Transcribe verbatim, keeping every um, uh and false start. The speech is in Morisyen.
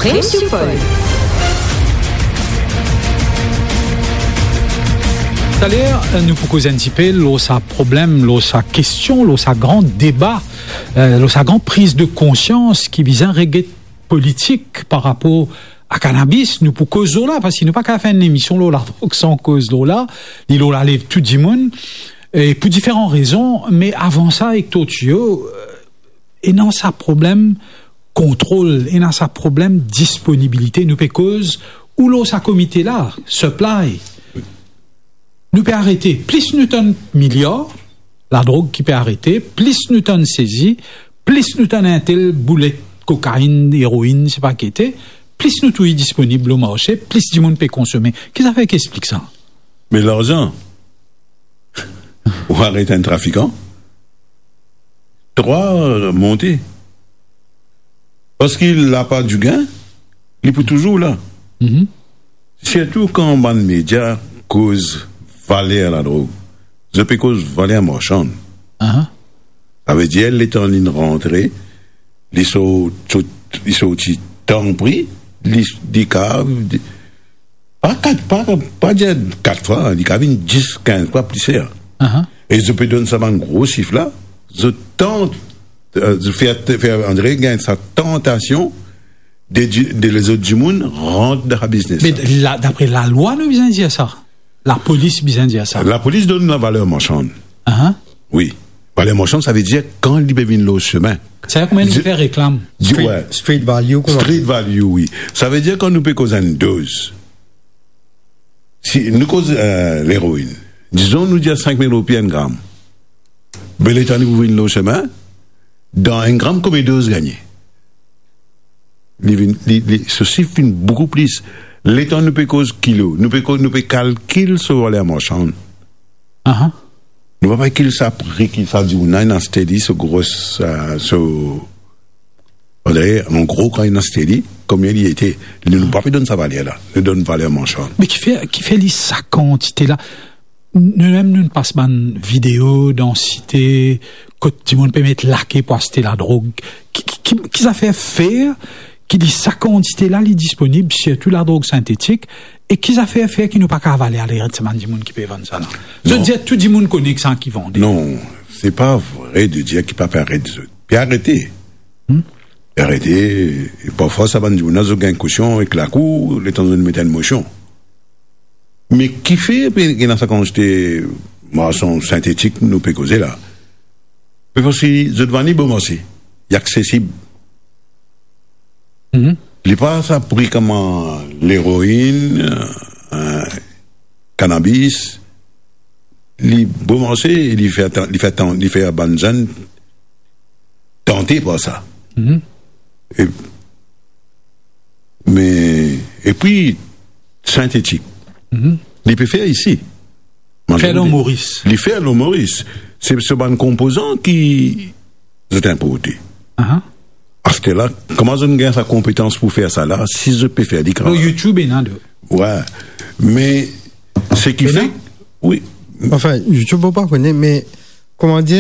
Emisyon Pol. Taler, nou pou koz enn tipe lor sa problem, lor sa kestion, lor sa gran deba, eh, lor sa gran priz de konsians ki bizin reget politik par rapor a kanabis. Nou pou koz lor la, parski nou pa kapav fer enn emisyon lor ladrog san koz lor la, li lor lalev tou dimoun, e pou diferan rezon, me avan sa, Hector Thuillot, ena sa problem kontrol, ena sa problem disponibilite. Nou pe koz ou lor sa komite la, supply. Nou pe arete, plis nou tann miliar ladrog ki pe arete, plis nou tann sezi, plis nou tann entel boulet kokainn, eroinn, sepa ki ete, plis nou trouv li disponib lor marse, plis dimoun pe konsome. Ki zafer ki explik sa? Me larzan. Ou aret enn trafikan, trwa monte. Parski lapa digin, li pou touzour la. Mhm. Sirtou kan bann media koz valer ladrog, zot pe koz valer marsann. Aha. Savedir, letan li rantre, li sort, sort, li sorti tan pri, li, li kav, pa kat, pa, pa dir kat fwa, li kav vinn dis, kinz fwa pli ser. Aha. E zot pe donn sa bann gro sif la, zot tant, eh, zot fer, fer Andre gagn sa tantasion de di-, de lezot dimoun rant dan sa biznes la. Me la, dapre lalwa, nou bizin dir sa? Lapolis bizin dir sa? Lapolis donn lavaler marsann. Aha. Wi. Valer marsann, savedir kan li pe vinn lor sime. Sa kouma nou fer reklam. Di-, street, ouais. Street value, kouma? Street value, wi. Savedir kan nou pe koz enn doz, si nou koz, eh, leroinn, dizon nou dir sink mil roupi enn gram. Be letan li pou vinn lor sime, dan enn gram, konbien doz gagne? Li vinn, li, li, so sif vinn boukou plis. Letan nou pe koz kilo, nou pe koz, nou pe kalkil so valer marsann. Aha. Nou pa pe kalkil sa pri ki sa dimoun la inn aste li, so gros, eh, so, an gro, kan inn aste li, konbien li ete. Nou, nou pa pe donn sa valer la. Nou donn valer marsann. Me kifer, kifer li sa kantite la? Nou mem nou pas bann video dan site kot dimoun pe met lake pou aste ladrog. Ki, ki, ki, ki zafer fer ki li sa kantite la li disponib, sirtou ladrog sintetik, e ki zafer fer ki nou pa kapav ale, ale aret sa bann dimoun ki pe vann sa la? Zot dir tou dimoun kone ki sa ki vande. Non, se pa vre de dir ki pa pe aret zot. Pe arete. Hmm? Pe arete, e parfwa sa bann dimoun la, zot gagn kosion ek lakour, letan zot met enn mosion. Me kifer pe ena sa kantite marsann sintetik nou pe koze la? Me parski zot vann li bomarse, li aksesib. Mhm. Li pa sa pri kouma leroinn, eh, kanabis, li bomarse, li fer tan-, li fer tan-, li fer bann zenn tante par sa. Mhm. E, me, epi, sintetik. Mhm. Li pe fer isi. Fer lor Moris. Li fer lor Moris. Se, se bann konpozan ki zot inporte. Aha. Aster la, kouma zot gagn sa konpetans pou fer sa la, si zot pe fer li kan... Lor YouTube, ena de. Wi. Me, seki fer, wi. Anfin, YouTube, mo pa kone, me, kouma dir,